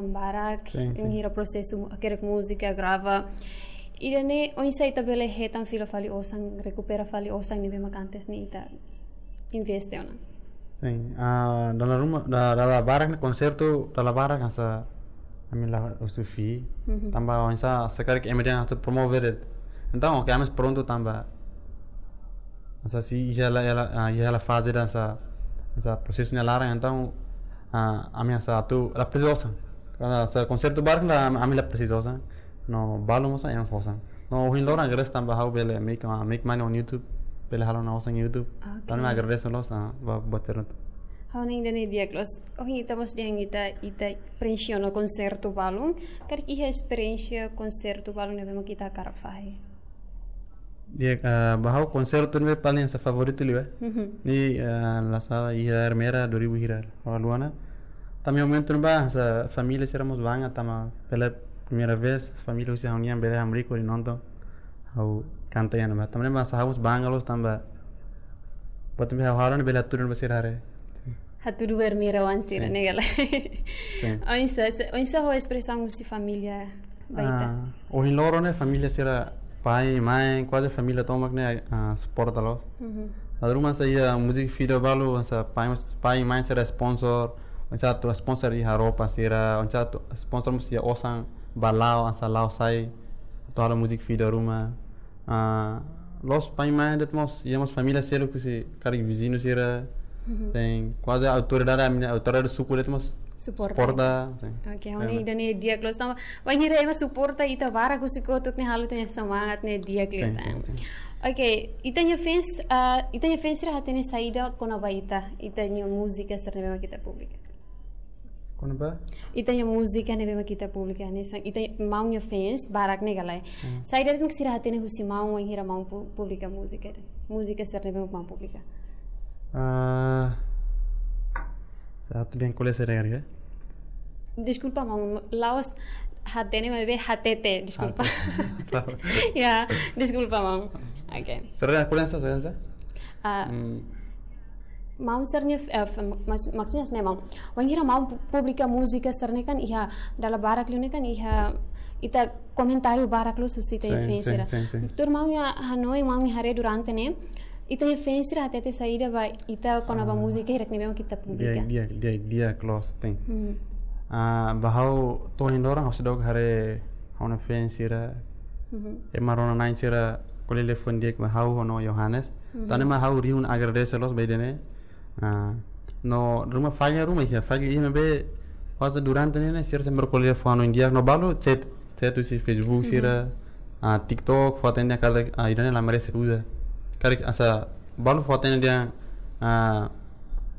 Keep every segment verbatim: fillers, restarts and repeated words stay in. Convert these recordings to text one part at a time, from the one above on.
barak, Sin, sin. Bainhira prosesu mu-, hakerek múzika, grava. Ida-ne'e, oinsá ita bele hetan fila fali osan, rekupera fali osan ne'ebé mak antes ne'e ita investe ona? Sin, ah, dala ruma, da-, dala barak ne'e konsertu, dala barak hanesan ami la husu fee. Mhm. Tanba oinsá se karik ema dehan atu promove de'it. Entaun, oke, ami prontu tanba hanesan sei iha hela, hela, ah, iha hela faze ida hanesan, hanesan prosesu nia laran, entaun, ah, ami hanesan atu la presiza osan. Hanesan konsertu barak ne'e la, ami la presiza osan. No balu mós ema fó osan. No ohin loron agradese tanba ha'u bele make, ah, make money on YouTube, bele halo ona osan YouTube. Oke. Entaun ami agradese loos, ah, ba, ba terno. Ha'u hanoin ida-ne'e di'ak loos. Ohin ita mós dehan ita, ita preenxe ona konsertu balun. Karik iha esperiénsia konsertu balun ne'ebé mak ita hakarak fahe? Di'ak, ah, ba ha'u konsertu ne'ebé paling hanesan favoritu liu, eh. Mhm. Ne'e, ah, la sala iha Ermera dua ribu hira, ha'u la haluha ona. Tanba iha momentu ne'ebá hanesan família sira mós bangga tanba pela primeira vez família husi ha'u-nian bele hamriik hodi nonton ha'u kanta iha ne'ebá. Tanba ne'e mak hanesan ha'u mós bangga loos tanba buat ne'ebé ha'u halo ne'e bele hatudu ba sira haree. Hatudu ba Ermera oan sira, Sin. Ne'e ka lae? Sin. Oinsá, se, oinsá ho espresaun husi família ba ita? Ah, ohin loron ne'e família sira, pai, mãe, kuaze família tomak ne'e, ah, suporta loos. Mhm. Dala ruma hanesan iha music video balu, hanesan pai, pai, mãe sira sponsor, hanesan atu sponsor iha roupa sira, hanesan atu sponsor mós iha osan ba la'o, hanesan la'o sai, atu halo music video ruma. Ah, loos pai mãe de'it mós, iha mós família seluk husi karik viziñu sira, Mhm. Sin, kuaze autoridade, ami-nia autoridade suku de'it mós Suporta. Suporta, sin. Oke, ha'u hanoin ida-ne'e di'ak loos tanba bainhira ema suporta ita barak husi kotuk ne'e halo ita-nia semangat ne'e di'ak liu Sin, tan. Sin, sin. Oke, ita-nia fans, ah, ita-nia fans sira hatene saida kona-ba ita, ita-nia múzika sira ne'ebé mak ita publika? Kona-ba? Ita-nia múzika ne'ebé mak ita publika, hanesan ita maun nia fans barak ne'e ka lae? Hmm. Saida de'it mak sira hatene husi maun bainhira maun pu-, publika múzika, múzika sira ne'ebé mak maun publika? Ah, satu yang kuliah saya dengar ya. Deskulpa maun, la'ós hatene maibé hatete, deskulpa. Hatete. Ya, deskulpa maun. Oke. Sira-nia kolega sa, sira-nia sa? Ah, Hmm. maun sira-nia, eh, f-, mas-, maksudnya sne maun. Bainhira maun pu-, publika múzika sira-ne'e kan iha dala barak liu ne'e kan iha ita komentáriu barak loos husi ita-nia Sin, fans sin, sira. sin, sin. Tuir maun nia hanoin, maun nia haree durante ne'e, ita-nia fans sira hatete saida ba ita kona-ba Ah. múzika hirak ne'ebé mak ita publika? Di'ak, di'ak, di'ak, di'ak loos, sin. Hmm. Ah, ba ha'u to'o ohin loron ha'u seidauk haree ha'u-nia fans sira. Mhm. Ema rona-na'in sira ko'alia liafuan di'ak ba ha'u ho Yohanes. Mhm. Tan ne'e mak ha'u rihun agradese loos ba ida-ne'e. Ah, no ruma falla ruma iha, falla iha maibé kuaze durante ne'e ne'e sira sempre ko'alia liafuan di'ak no balu chat, chat husi Facebook Mhm. sira, ah, TikTok, fó-hatene dehan karik, ah, ida-ne'e la merese uza. Karik hanesan balu fó-hatene dehan, ah,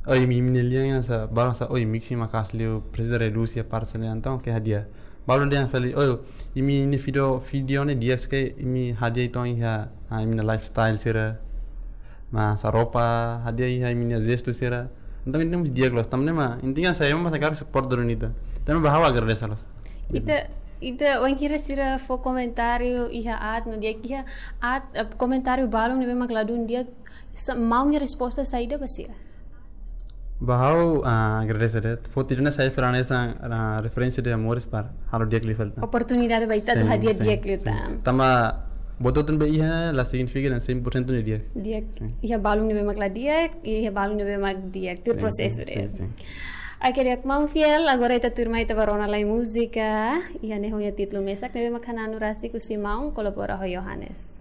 oi, imi, imi-nia lian hanesan, balu hanesan, oi, mixing maka'as liu, presiza redús iha parte sira-ne'e, entaun ke hadi'a. Balu dehan fali, oi, imi-nia video, video ne'e di'ak, só ke imi hadi'a uitoan iha, ah, imi-nia lifestyle sira. Hanesan roupa, hadi'a iha imi-nia jestu sira. Entaun ida-ne'e mós di'ak loos, tan ne'e mak, intinya hanesan ema mós hakarak support duni ita. Tan ne'e ba ha'u agradese loos. Ita, ita bainhira sira fó komentáriu iha aat no di'ak iha aat, eh, komentáriu balun ne'ebé mak ladún di'ak, sa-, maun nia resposta saida ba sira? Ba ha'u, ah, agradese de'it. Foti ida-ne'e sai fila hanesan, ah, referência de amores para halo di'ak liu fali tan. Oportunidade ba ita atu Sin, hadi'a sin, di'ak liu sin. tan. Tanba buat hotu ne'ebé iha la signifika dehan cem por cento ne'e di'ak. Di'ak. Sin. Iha balun ne'ebé mak la di'ak, iha balun ne'ebé mak di'ak. Tuir Sin, prosesu sin, de'it. sin, sin. Oke, di'ak maun Fiel, agora ita tuirmai ita ba rona lai múzika. Iha ne'e ho nia títulu mesak ne'ebé mak Hananu Rasik husi maun kolabora ho Yohanes.